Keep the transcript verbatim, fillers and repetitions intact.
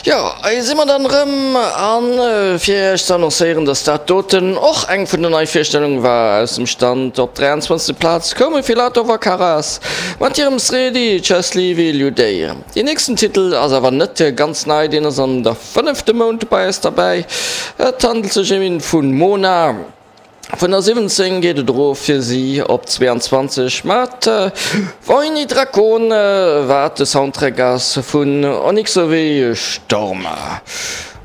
Jo, hei si mer dann erëm an fir iech ze annoncéieren, dass dat doten och eng vun den Neivirstellunge war aus dem Stand. Op dräianzwanzeg. Plaz koume Filatov a Karas mat hirem Sredi Schtchastliwi Ljudej. Deen nächsten Titel ass awer net ganz nei, deen ass an der fënnefte Mount bei eis derbäi. Et handelt sech ëm een vu Mona. Vun der siwwenzéng geet et erof fir si op zweeanzwanzeg mat Vojni Drakon, wat de Soundtrack ass vun Onyxowy Storm.